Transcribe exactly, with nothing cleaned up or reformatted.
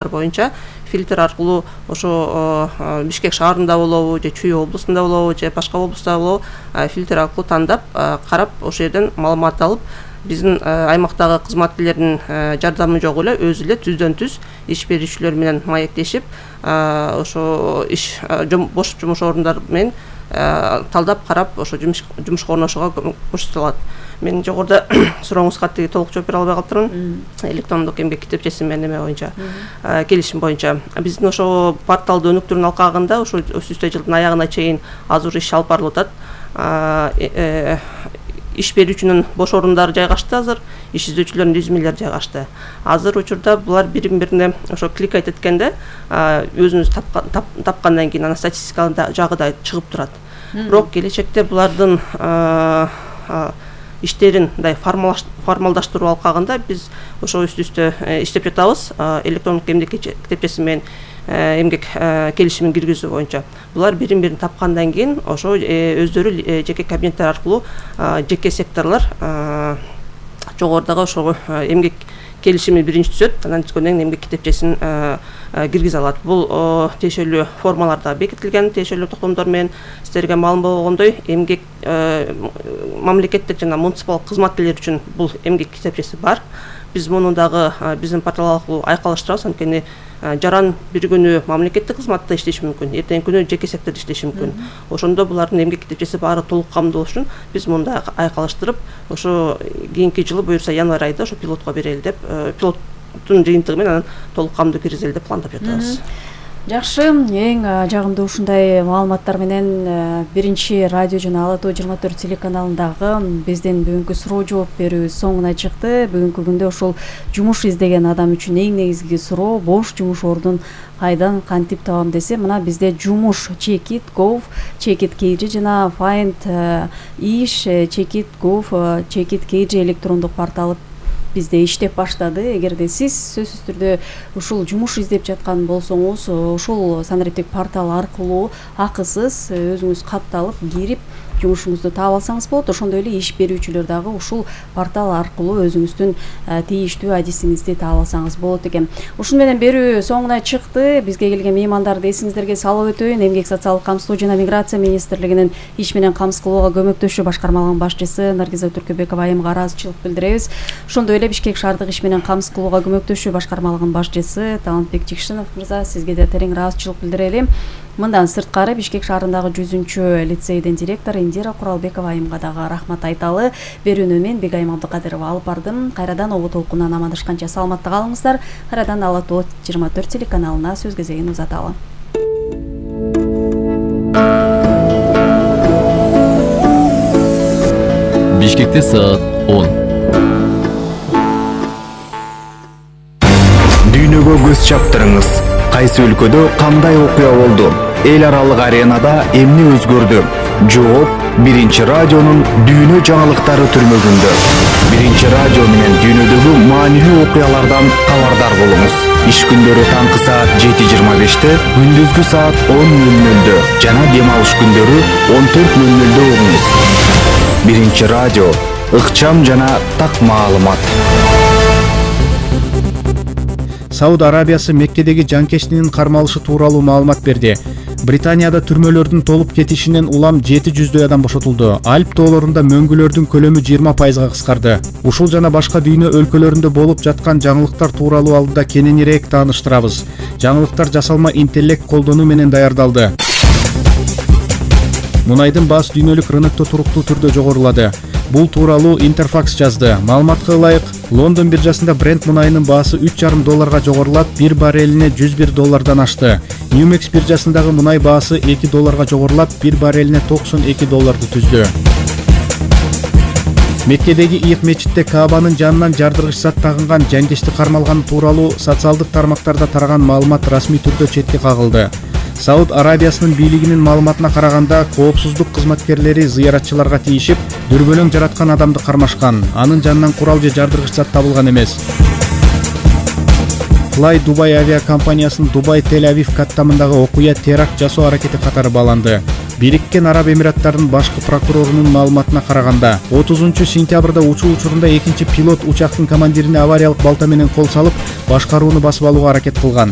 боюнча фильтр аркылуу ошо Бишкек шаарында болобу же Чүй облусунда болобу же башка облуста болобу фильтр аркылуу тандап карап ошол жерден маалымат алып биздин аймактагы кызматкерлердин жардамы жок эле өзү эле түздөн түз иш берүүчүлөр менен маектешип ошо иш бош жумуш орундар менен талдап карап ошо жумушка орношууга көрсөтүлөт. Мен жогоруда сурооңузга тиги толук жооп бере албай калыптырмын. Электрондук эмгек китепчеси менен эме боюнча келишим боюнча биздин ошо порталды өнүктүрүүнүн алкагында ошо өтүүчү жылдын аягына чейин азыр иш алып барылып атат. Иш берүүчүнүн бош орундары жайгашты азыр, иш издөчүлөрдүн резюмелери жайгашты. Азыр учурда булар бири-бирине ошо кликать эткенде өзүнүз тапкандан кийин анан статистикалык жагы да чыгып турат. Бирок келечекте булардын иштерин мындай формалдаштыруу алкагында биз ошо үстү-үстө иштеп жатабыз. Электрондук эмгек китепчеси менен эмгек келишимин киргизүү боюнча. Булар бирин-бирин тапкандан кийин ошо өздөрү жеке кабинеттер аркылуу жеке секторлор жогорудагы ошо эмгек келишими биринчи түзөт, анан түзгөндөн кийин эмгек китепчесин киргизе алат. Бул тиешелүү формаларда бекитилген, тиешелүү токтомдор менен сиздерге маалым болгондой эмгек мамлекеттик жана муниципалдык кызматкерлер үчүн бул эмгек китепчеси бар. Биз муну дагы биздин портал аркылуу айкалыштырабыз, анткени жаран бир күнү мамлекеттик кызматта иштеши мүмкүн, эртеңки күнү жеке сектордо иштеши мүмкүн. Ошондо булардын эмгек китепчеси баары толук камдуу болуш үчүн биз мундай айкалыштырып, ошо кийинки жылы буюрса январь айында ошо пилотко берели деп, пилоттун жыйынтыгы менен анан толук камдуу киргизели деп пландап жатабыз. Жакшы, эң жагымдуу ушундай маалыматтар менен биринчи радио жана Ала Тоо жыйырма төрт телеканалындагы биздин бүгүнкү суроо жооп берүүбүз соңуна чыкты. Бүгүнкү күндө ушул жумуш издеген адам үчүн эң негизги суроо бош жумуш ордун кайдан кантип табам десе, мына бизде жумуш чекит gov, чекит kg жана find иш чекит gov, чекит kg электрондук порталы бизде иштеп баштады. Эгерде сиз сөзсүз түрдө ушул жумуш издеп жаткан болсоңуз, ушул санариптик портал аркылуу акысыз өзүңүз катталып кирип жумушуңузду таап алсаңыз болот. Ошондой эле иш берүүчүлөр дагы ушул портал аркылуу өзүңүздүн тийиштүү адисиңизди таап алсаңыз болот экен. Ушун менен берүү соңуна чыкты. Бизге келген меймандарды эсиңиздерге салып өтөйүн. Эмгек социалдык камсыздоо жана миграция министрлигинин иш менен камсыз кылууга көмөктөшүү башкармалыгынын башчысы Наргиза Түркөбекова айымга ыраазычылык билдиребиз. Ошондой эле Бишкек шаардык иш менен камсыз кылууга көмөктөшүү башкармалыгынын башчысы Талантбек Жикшинов мырза, сизге да терең ыраазычылык билдирели. Мындан сырткары Бишкек шаарындагы жүзүнчү лицейдин директору Индира Куралбекова айымга дагы рахмат айталы. Берүүнү мен Бегайым Абдыкадырова алып бардым. Кайрадан обо толкундан амандашканча саламатта калыңыздар. Кайрадан Ала Тоо жыйырма төрт телеканалына сөз кезегин узаталы. Бишкекте саат он. Дүйнөгө көз чаптырыңыз. Кайсы өлкөдө кандай окуя болду? Эл аралык аренада эмне өзгөрдү? Жооп биринчи радионун дүйнө жаңылыктары түрмөгүндө. Биринчи радио менен дүйнөдөгү маанилүү окуялардан кабардар болуңуз. Иш күндөрү таңкы саат жети жыйырма беште, күндүзгү саат он нөл нөлдө жана дем алыш күндөрү он төрт нөл нөлдө угуңуз. Биринчи радио ыкчам жана так маалымат. Сауд Арабиясы Меккедеги жанкечтинин кармалышы тууралуу маалымат берди. Британияда түрмөлөрдүн толуп кетишинен улам жети жүздөй адам бошотулду. Альп тоолорунда мөңгүлөрдүн көлөмү жыйырма пайызга кыскарды. Ушул жана башка дүйнө өлкөлөрүндө болуп жаткан жаңылыктар тууралуу алдыда кененирээк тааныштырабыз. Жаңылыктар жасалма интеллект колдонуу менен даярдалды. Мунайдын баасы дүйнөлүк рынокто туруктуу түрдө жогорулады. Бул тууралуу Интерфакс жазды. Маалыматка ылайык, Лондон биржасында Brent мунайынын баасы үч жарым долларга жогорулап, бир баррелине жүз бир доллардан ашты. Ньюмекс биржасындагы мунай баасы эки долларга жогорулап, бир баррелине токсон эки долларды түздү. Меккедеги Ийик мечитте Каабанын жанынан жардыргыч зат тагынган жанкечти кармалганы тууралуу социалдык тармактарда тараган маалымат расмий түрдө четке кагылды. Сауд Арабиясынын бийлигинин маалыматына караганда, коопсуздук кызматкерлери зыяратчыларга тийишип, дүрбөлөң жараткан адамды кармашкан. Анын жанынан курал же жардыргыч зат табылган эмес. Fly Dubai авиакомпаниясынын Дубай Тель-Авив каттамындагы окуя теракт жасоо аракети катары бааланды. Бириккен Араб Эмираттарынын башкы прокурорунун маалыматына караганда, отузунчу сентябрда учуу учурунда экинчи пилот учактын командирине авариялык балта менен кол салып, башкарууну басып алууга аракет кылган.